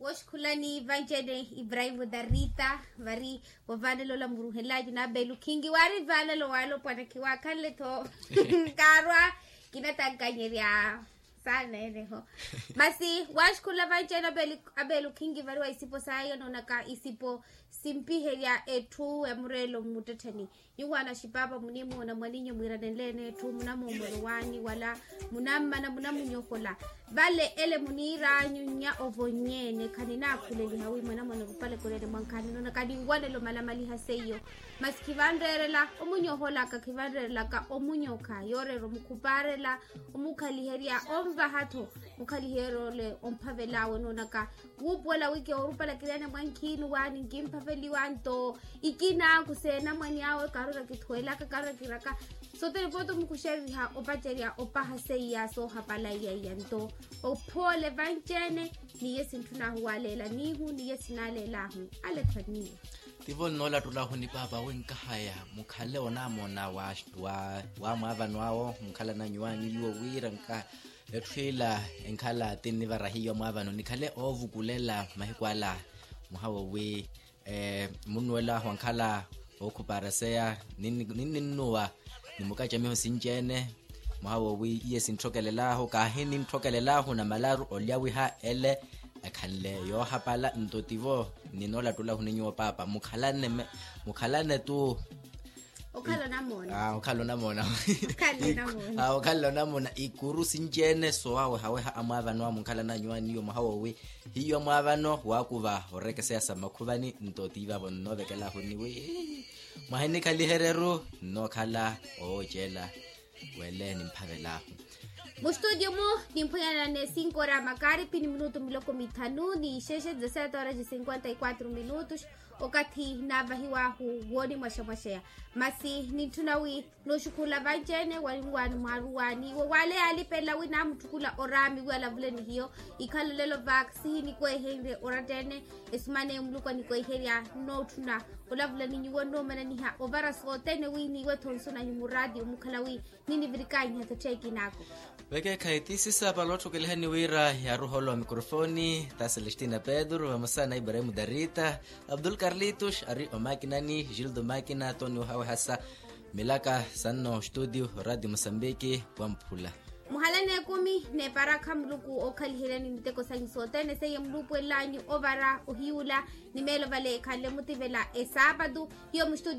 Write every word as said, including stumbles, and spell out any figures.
Oxikhulani vanci-ene ibrahim darita vari, wavaanelo ola muruhenlaaci naabelu khinki waari vaanelo waalopwana khiwaakhanle-tho. Nkaarwa kinattankanyerya saana ene-ho. Masi waaxikhula vanci-ene abeelu khinki vari wa isipo saya noonaka isipo simpiherya etthu emureelo mmuttettheni. Nyuwo anaxipaapa munimuuna mwaninyu mwiiranenle-ene etthu munamoomoro waanyu wala munammana munamunyohola. Vale ele muniir'anyu nnya ovonye-ene khaninaakhuleliha wi mwanamwana orupale khuleene mwankhaani noonaka ninwanelo malamaliha seiyo. Masi khivanreerela omunyoholaka khivanreerelaka omunyokha yooreera omukhupaarela omukhaliherya onvaha-tho. Mukhaliherya ole omphavel'awe noonaka wuupuwela wiki oorupala kiriane mwankhiini waani nkimphaveliwa nto ikina khuseena mwani awe karura kithuwelaka karura kiraka. Sothene pooti omukuxeriha opacerya opaha seiya soohapala iyaiya nto ophoole vanci-ene. Niye sintthun'ahu waaleela niihu niye sinaaleel'ahu. Alekhwa niye. Tivo nnoolattulahu ni paapa winkahaya mukhale onaamona wa mwaavano awo mukhalananyu waani nyuwo wira nka etthu ila enkhala ti nnivara hiyo mwaavano nikhale oovukulela mahiku ala. Mwaha wowi munnuwela wankhala ookhuparaseya ninninnuwa ni mukacamiho sinci-ene. Mwaha wowi iye sintthokelel'ahu kaahi nintthokelel'ahu na malaru olyawiha ele ekhanle yoohapala nto tivo. Ninoolattulahu ni nyuwo paapa mukhalane mukhalane tu. Okhala onamoona. Okhala onamoona. Okhala onamoona ikuru sinci-ene soowawehaweha amwaavano awo munkhalananyu waani nyuwo mwaha wowi hiyo mwaavano waakuva orekeseya sa mmakhuvani nto tiivavo nnoovekel'ahu niwi mwaha enikhaliheryeru nnookhala owoocela. Wele nimphavel'ahu. Mustutio-mu nimphwanyanane sinkoora makaripi ni minutu miloko mithanu ni ixexe dezasete horas de cinquenta e quatro minutos. Okathi naavahiw'ahu woonimwaxamwaxeya masi nintthuna wi nooxukhula vanci-ene warinwaani mwaaruwaani iwo waale yaalipelela wi naamutthukula oraami wi alavule ni hiyo. Ikhala olelo vaakisihi nikweehenrye oratta-ene esumana eyo muluku anikweiherya nnootthuna olavula ni nyuwo nnoomananiha ovara sothene wi niiwe-tho nsonanyu muraati omukhala wi ninivirikanyiha tattheeki naako. Vekeekhayi ti sisapala otthukelihani wira yaaruha olowa mikrofoni ta celestina pedro vamosa na ibrahim darita abdul carlitos ari omakinani gildo makina toni ohawehasa milaka sanno studio radio mosambiki wamphula. Muhalani ekumi n'eparakha muluku ookhaliheryani miteko sanyu sothene seiye muluupuwel'anyu ovara ohiyuula ni meelo vale ekhanle mutivela esaapatu hiyo mustudio.